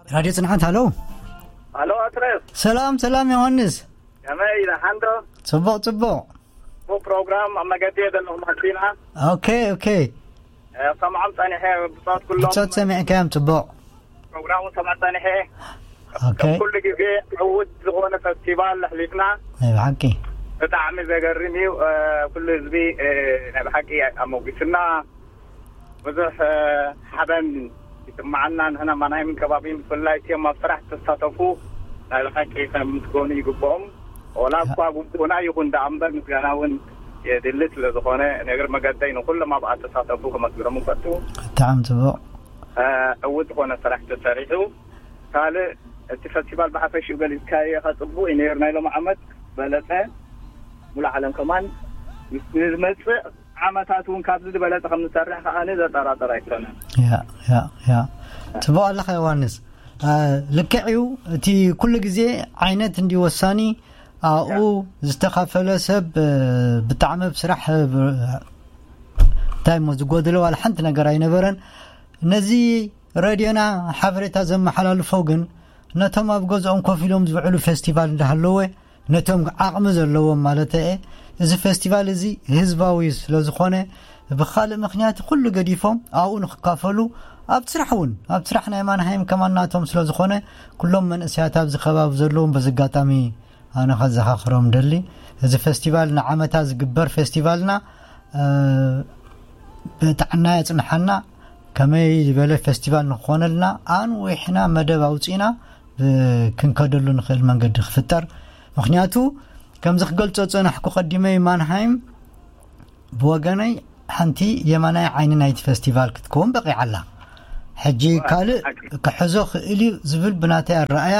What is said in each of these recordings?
ራድዮ ጽንዓት፣ ሃሎ። ሃሎ ኣትረስ። ሰላም ሰላም ዮሃንስ። ከመይ ደሓን ዶ? ጽቡቕ ጽቡቕ። ጽቡቕ ፕሮግራም ኣብ መገዲ እየ ዘለኹ ማኪና። ኦኬ ኦኬ። ሰምዖም ጸኒሐ ብጾት ኩሎም። ብጾት ሰሚዕካዮም ጽቡቕ። ፕሮግራሙ ሰምዖ ጸኒሐ። ኦኬ። ኩሉ ግዜ ዕውት ዝኾነ ፈስቲቫል ኣሕሊፍና። ናይ ብሓቂ። ብጣዕሚ ዘገርም እዩ። ኩሉ ህዝቢ ናይ ብሓቂ ኣሞጊስና። ብዙሕ ሓበን ይስማዓና። ንሕና ማናይምን ከባቢን ብፍላይ እቲኦም ኣብ ስራሕ ዝተሳተፉ ናይ ብሓቂ ከምስገኑ ይግብኦም። ወላ እኳ ግቡእና ይኹን ደኣ እምበር ምስጋና እውን የድሊ ስለ ዝኾነ ነገር መገደይ ንኩሎም ኣብ ኣተሳተፉ ከመስግኖም እፈቱ። ብጣዕሚ ጽቡቕ። ዕውት ዝኾነ ስራሕ ተሰሪሑ። ካልእ እቲ ፈስቲቫል ብሓፈሽኡ ገሊጽካዮ ኢኻ፣ ጽቡቕ እዩ ነይሩ። ናይ ሎም ዓመት በለጸ። ሙሉ ዓለም ከማን ምስ ዝመጽእ ዓመታት እውን ካብዚ ዝበለጸ ከም ንሰርሕ ከዓኒ ዘጠራጠር ኣይኮነን። ያ ያ ያ። ጽቡቕ ኣለኻ ዮሃንስ። ልክዕ እዩ። እቲ ኩሉ ግዜ ዓይነት እንዲ ወሳኒ ኣብኡ ዝተኻፈለ ሰብ ብጣዕሚ ብስራሕ እንታይ እሞ ዝጎደለ ዋላ ሓንቲ ነገር ኣይነበረን። ነዚ ረድዮና ሓበሬታ ዘመሓላልፎ ግን ነቶም ኣብ ገዝኦም ኮፍ ኢሎም ዝውዕሉ ፌስቲቫል እንዳሃለወ ነቶም ዓቕሚ ዘለዎም ማለት እየ። እዚ ፌስቲቫል እዚ ህዝባዊ ስለ ዝኾነ ብኻልእ ምኽንያት ኩሉ ገዲፎም ኣብኡ ንክካፈሉ ኣብ ስራሕ እውን ኣብ ስራሕ ናይ ማንሃይም ከማናቶም ስለ ዝኾነ ኩሎም መንእሰያት ኣብዚ ከባቢ ዘለዎም በዚ ኣጋጣሚ ኣነ ከዘኻኽሮም ደሊ። እዚ ፌስቲቫል ንዓመታ ዝግበር ፌስቲቫልና ብጥዕና የጽንሓና። ከመይ ዝበለ ፌስቲቫል ንክኾነልና ኣንዊሕና መደብ ኣውፂእና ክንከደሉ ንኽእል መንገዲ ክፍጠር። ምክንያቱ ከምዚ ክገልጾ ጸናሕኩ ቀዲመይ ማንሃይም ብወገነይ ሓንቲ የማናይ ዓይኒ ናይቲ ፌስቲቫል ክትከውን በቂዓላ። ሕጂ ካልእ ክሕዞ ክእል እዩ ዝብል ብናተይ ኣረኣያ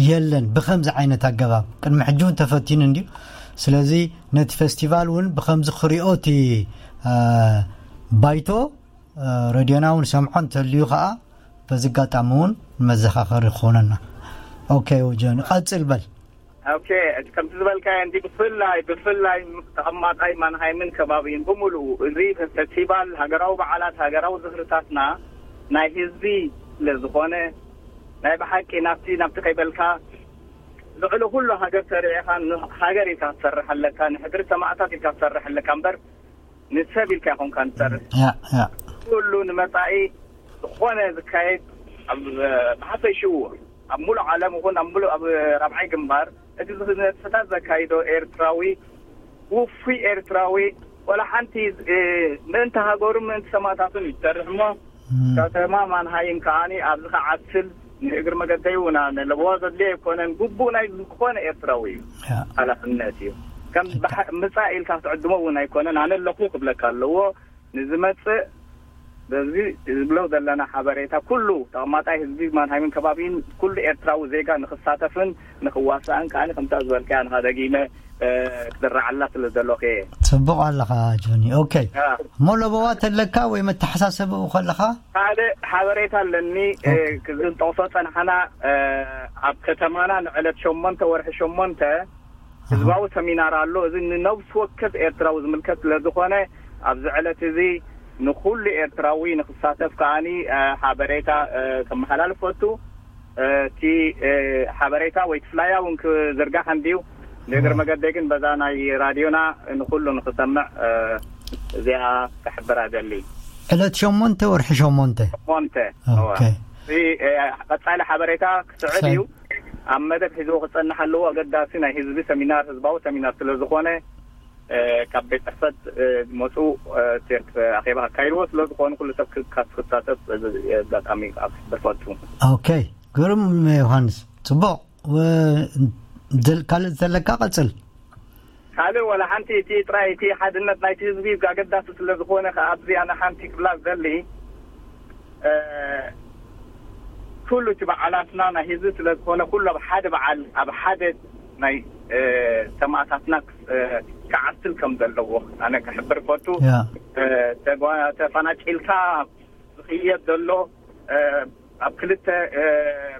የለን። ብከምዚ ዓይነት ኣገባብ ቅድሚ ሕጂ እውን ተፈቲኑ እንድዩ። ስለዚ ነቲ ፌስቲቫል እውን ብከምዚ ክሪኦ እቲ ባይቶ ረድዮና እውን ሰምዖ እንተልዩ ከዓ በዚ ኣጋጣሚ እውን መዘኻኸሪ ክኾነና። ኦኬ ጆኒ ቀጽል በል። ኦኬ፣ ከምቲ ዝበልካዮ እንዲ ብፍላይ ብፍላይ ተቐማጣይ ማንሃይምን ከባቢን ብምሉኡ እዚ ፈስቲቫል ሃገራዊ በዓላት ሃገራዊ ዝኽርታትና ናይ ህዝቢ ስለ ዝኾነ ናይ ብሓቂ ናብቲ ናብቲ ከይበልካ ልዕሊ ኩሉ ሃገር ሰሪዕኻ ሃገር ኢልካ ክትሰርሕ ኣለካ፣ ንሕድሪ ሰማእታት ኢልካ ክትሰርሕ ኣለካ እምበር ንሰብ ኢልካ ይኾንካ ንሰርሕ። ኩሉ ንመጻኢ ዝኾነ ዝካየድ ኣብ ብሓፈሽኡ ኣብ ሙሉእ ዓለም ይኹን ኣብ ሙሉእ ኣብ ራብዓይ ግንባር እቲ ዝነጥፍታት ዘካይዶ ኤርትራዊ ውፉይ ኤርትራዊ ወላ ሓንቲ ምእንቲ ሃገሩ ምእንቲ ሰማእታቱን ይሰርሕ እሞ ከተማ ማንሃይም ከዓኒ ኣብዚ ከዓስል ንእግሪ መገደይ እውን ኣነ ለበዋ ዘድልዮ ኣይኮነን። ግቡእ ናይ ዝኾነ ኤርትራዊ እዩ፣ ሓላፍነት እዩ። ከም ምጻእ ኢልካ ክትዕድሞ እውን ኣይኮነን። ኣነ ኣለኹ ክብለካ ኣለዎ። ንዝመጽእ በዚ ዝብሎ ዘለና ሓበሬታ ኩሉ ተቐማጣይ ህዝቢ ማንሃይምን ከባቢን ኩሉ ኤርትራዊ ዜጋ ንክሳተፍን ንክዋሳእን ከዓኒ ከምታ ዝበልካያ ንኻ ደጊመ ክድረዓላ ስለ ዘለኹ እየ። ጽቡቕ ኣለኻ ጆኒ። ኦኬ እሞ ለበዋ ተለካ ወይ መተሓሳሰብኡ ከለኻ? ካልእ ሓበሬታ ኣለኒ። ክንጠቕሶ ጸንሓና ኣብ ከተማና ንዕለት ሸሞንተ ወርሒ ሸሞንተ ህዝባዊ ሰሚናር ኣሎ። እዚ ንነብሲ ወከፍ ኤርትራዊ ዝምልከት ስለ ዝኾነ ኣብዚ ዕለት እዚ ንኹሉ ኤርትራዊ ንክሳተፍ ከዓኒ ሓበሬታ ከመሓላልፍ ፈቱ። እቲ ሓበሬታ ወይ እቲ ፍላያ እውን ክዝርጋሕ እንድዩ። ንእግሪ መገደይ ግን በዛ ናይ ራድዮና ንኹሉ ንክሰምዕ እዚኣ ክሕብር ኣደሊ። ዕለት ሸሞንተ ወርሒ ሸሞንተ። ሸሞንተ። ኦኬ። ቀጻሊ ሓበሬታ ክስዕብ እዩ። ኣብ መደብ ሒዝዎ ክጸንሕ ኣለዎ። ኣገዳሲ ናይ ህዝቢ ሰሚናር፣ ህዝባዊ ሰሚናር ስለ ዝኾነ ካብ ቤት ጽሕፈት መፁ ኣኼባ ካካይድዎ ስለ ዝኾኑ ኩሉ ሰብ ክሳተፍ ኣጋጣሚ ኣብ ክሕብር ፈቱ። ኦኬ። ግሩም ዮሃንስ፣ ጽቡቕ። ካልእ ዘለካ ቀጽል። ካልእ ወላ ሓንቲ፣ እቲ ጥራይ እቲ ሓድነት ናይቲ ህዝቢ ኣገዳሲ ስለ ዝኾነ ከኣ ኣብዚ ኣነ ሓንቲ ክብላ ዝደሊ ኩሉ እቲ በዓላትና ናይ ህዝቢ ስለ ዝኾነ ኩሉ ኣብ ሓደ በዓል ኣብ ሓደ ናይ ሰማእታትና ክዓስል ከም ዘለዎ ኣነ ክሕብር ፈቱ። ተፋናጭልካ ዝኽየድ ዘሎ ኣብ ክልተ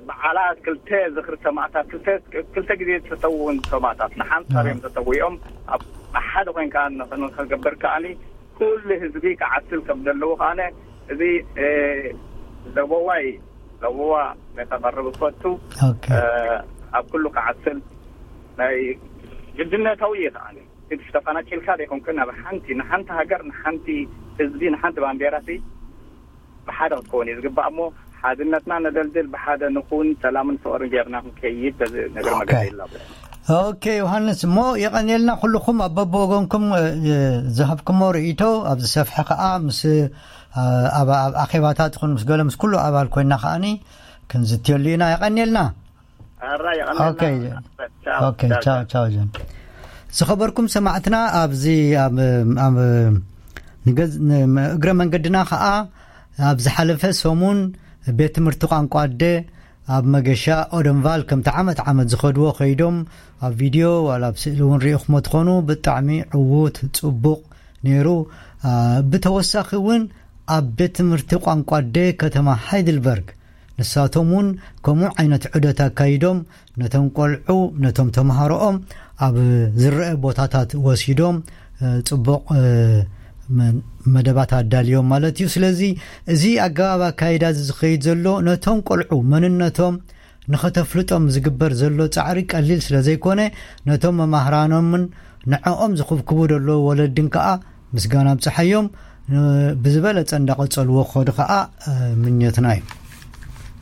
በዓላት ክልተ ዝኽሪ ሰማእታት ክልተ ግዜ ዝተሰውኡ ሰማእታት ንሓንሳብ እዮም ተሰዊኦም ኣብ ሓደ ኮይንካ ንክንገብር ከኣኒ ኩሉ ህዝቢ ክዓስል ከም ዘለዎ ከኣነ እዚ ለበዋይ ለውዋ ነተቐርብ እፈቱ። ኣብ ኩሉ ክዓስል ናይ ግድነታዊ እየ ከዓኒ ግድሽ ተፈናቂልካ ዘይኮንክን ናብ ሓንቲ ንሓንቲ ሃገር ንሓንቲ ህዝቢ ንሓንቲ ባንዴራሲ ብሓደ ክትከውን እዩ ዝግባእ እሞ ሓድነትና ነደልድል፣ ብሓደ ንኹን፣ ሰላምን ፍቕርን ጌርና ክንከይድ በዚ ነገር መገዲ ይላቦ። ኦኬ ዮሃንስ፣ እሞ የቐንየልና ኩልኹም ኣብ በብወገንኩም ዝሃብኩሞ ርእይቶ ኣብ ዝሰፍሐ ከዓ ምስ ኣብ ኣኼባታት ይኹን ምስ ገለ ምስ ኩሉ ኣባል ኮይና ከዓኒ ክንዝትየሉ ኢና። የቐንየልና። ቻው። ዝኸበርኩም ሰማዕትና ኣብዚ እግረ መንገድና ከዓ ኣብ ዝሓለፈ ሰሙን ቤት ትምህርቲ ቋንቋ ኣደ ኣብ መገሻ ኦደንቫል ከምቲ ዓመት ዓመት ዝኸድዎ ከይዶም ኣብ ቪድዮ ዋላ ኣብ ስእሊ እውን ሪኢኹሞ ትኾኑ። ብጣዕሚ ዕዉት ጽቡቕ ነይሩ። ብተወሳኺ እውን ኣብ ቤት ትምህርቲ ቋንቋ ኣደ ከተማ ሃይድልበርግ ንሳቶም እውን ከምኡ ዓይነት ዑደት ኣካይዶም ነቶም ቆልዑ ነቶም ተምሃሮኦም ኣብ ዝረአ ቦታታት ወሲዶም ጽቡቕ መደባት ኣዳልዮም ማለት እዩ። ስለዚ እዚ ኣገባብ ኣካይዳ እዚ ዝኸይድ ዘሎ ነቶም ቆልዑ መንነቶም ንኸተፍልጦም ዝግበር ዘሎ ጻዕሪ ቀሊል ስለ ዘይኮነ ነቶም መማህራኖምን ንዕኦም ዝኽብክቡ ዘለዉ ወለድን ከኣ ምስጋና ኣብጽሓዮም። ብዝበለጸ እንዳቐጸልዎ ክኸዱ ከኣ ምኞትና እዩ።